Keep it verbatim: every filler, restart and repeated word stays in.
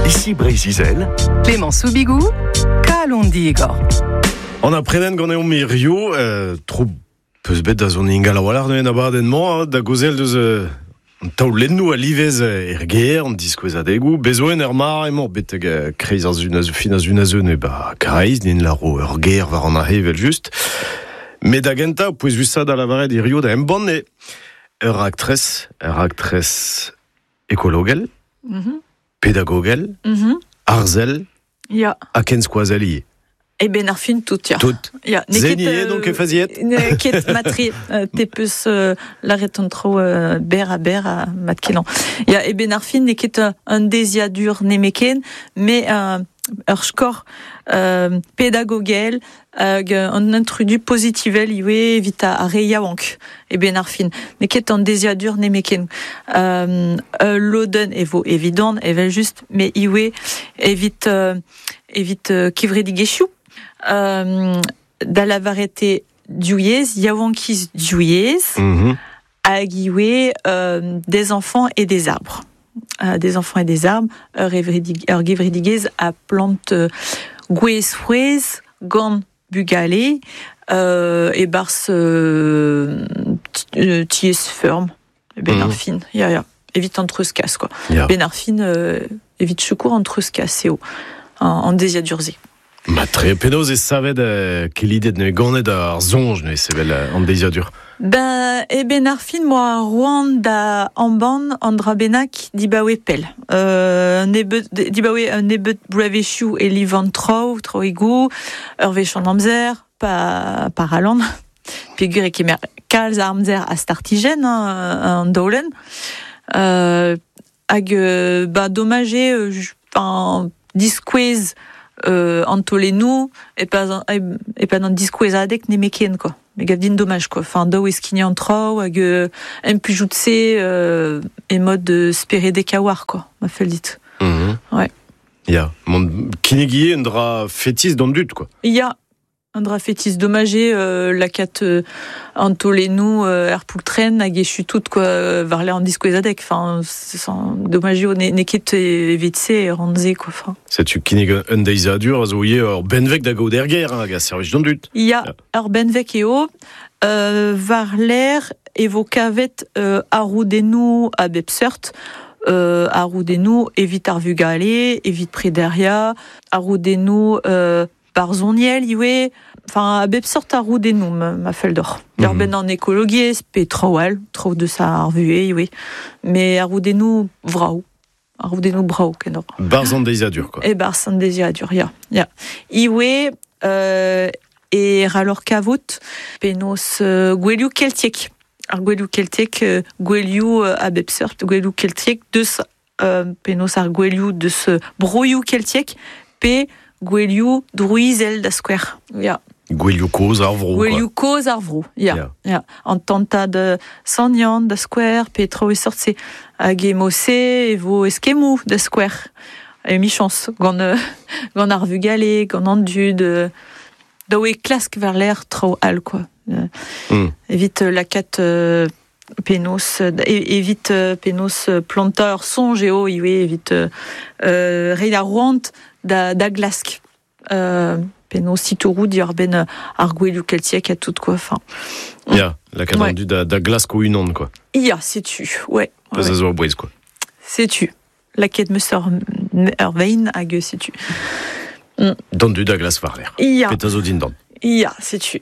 Ici Breizh-Izel. Clément Soubigou, Kalon Digor. On a preden gant eo mirio, euh, tro peus bet da zon ingal a-walc'h neuze abadenn-mañ, da gozel deus euh, an taolennoù a livez er ger, an diskouezadegou, bezoen er mar emañ betek euh, kreiz ar zun a fin a zun a zeun e ba kreiz, nin laro ur ger war an ahe vel just. Met da genta, pouez vusa da lavaret hirio da embann e ur aktres, ur aktres ekologel, mm -hmm. pedagogel, mm -hmm. arzel, Ya. ha ken skoazel ivez. E ben ar fin tout, ya. Tout. Ya. Zeni eo donc e faziet. Ne ket matri, te peus euh, laret an tro euh, ber a ber a mat kelan. Ya, e ben ar fin ne ket un deziadur nemeken, mais euh, ur skor euh, pedagogel hag an intrudu pozitivel iwe evit a re yaouank e ben ar fin. Ne ket an deziadur nemeken. Euh, loden e vo evidon, evel just, mais iwe evit, euh, evit euh, kevredigezhioù. Euh, da lavarete diouiez, yaouankiz diouiez, mm -hmm. hag iwe euh, des enfants et des arbres. Euh, des enfants et des arbres, ur ur gevredigezh a plant euh, gwez frouezh gant bugale euh, e barz euh, tiez ferm, ben mm -hmm. ar fin, ya ya, evit an treuzkas quoi. Ya. Ben ar fin euh, evit secours an treuzkas eo, an, an deziadurze. Ma tre penaos e savet euh, kelidet ne ganet ar zonj ne sevel an deziadur. Ben, e ben ar fin moa roan da amban an dra bennak dibaoe pell. Euh, nebeut, dibaoe un nebeut bloavezhioù e livan traoù, traoù ur wech an amzer, pa, par alan. Peogwir e kemer kalz ar amzer a startijenn, hein, an daolenn. Euh, hag, ba, domaj eo, euh, diskouez euh, an tolennoù e pas e pas an diskouezadeg nemeken quoi. Me gav din domaj quoi. Enfin daou e skignañ an traoù hag euh, empujout-se euh, e mod de speredek a war quoi, ma fell dit. Mm -hmm. Ouais. Ya, mont kinnegie un dra fetis d'an dud quoi. Ya, un dra fetis domaj eo euh, lakat euh, an tolennoù euh, er poultren hag echu tout quoi war le an diskouezadeg. Enfin, domaj eo ne, ne ket evit-se e ranze quoi. Enfin. Setu kinnig un deiziadur a zo ivez ur benveg da gaout er ger, hag a servij d'an dud. Ya, ur benveg eo, euh, war l'air e vo kavet euh, arroudennoù a bep seurt, euh, arroudennoù evit ar vugale, evit prederia, arroudennoù euh, barzhoniel ivez, enfin a bep seurt arroudennoù ma, ma fell d'or. Mm -hmm. Ben an ekologiezh, pe traoù all, traoù deus ar vuhez ivez, mais arroudennoù vrav. Arroudennoù brav kenor. Barzh an deiziadur quoi. E barzh an deiziadur, ya. Ya. Iwe euh, e ralor kavout penaos euh, gwelioù keltiek. Ar gwelioù keltiek, euh, gwelioù euh, a bep seurt, gwelioù keltiek deus euh, penaos ar gwelioù deus broioù keltiek pe gwelioù drouizel da skouer. Ya. Gwelioù kozh ar vro. Gwelioù kozh ar vro, ya. Ya. Ya. An tantad Sant Yann da skouer, pe traoù e sort-se. Hag e mose e vo eskemmoù da skouer. E michañs, gant, euh, gant ar vugale, gant an dud, euh, daou e klask war l'air traoù all, quoi. Euh, mm. Evit lakat euh, penaos, evit euh, penaos plantañ ur soñj eo ivez, evit euh, reiñ ar roant da, da glask. Euh, penaos titouroù diwar-benn ar gwelioù keltiek ha tout, quoi. Enfin. Ya, lakat Ouais. an dud da, da glask o unan, quoi. Ya, setu, ouais. Peus ouais. a zo a bouez, quoi. Setu. Laket meus ur, ur vein hag setu. D'an dud da glask war l'air. Ya, Petra zo dindan. ya, setu.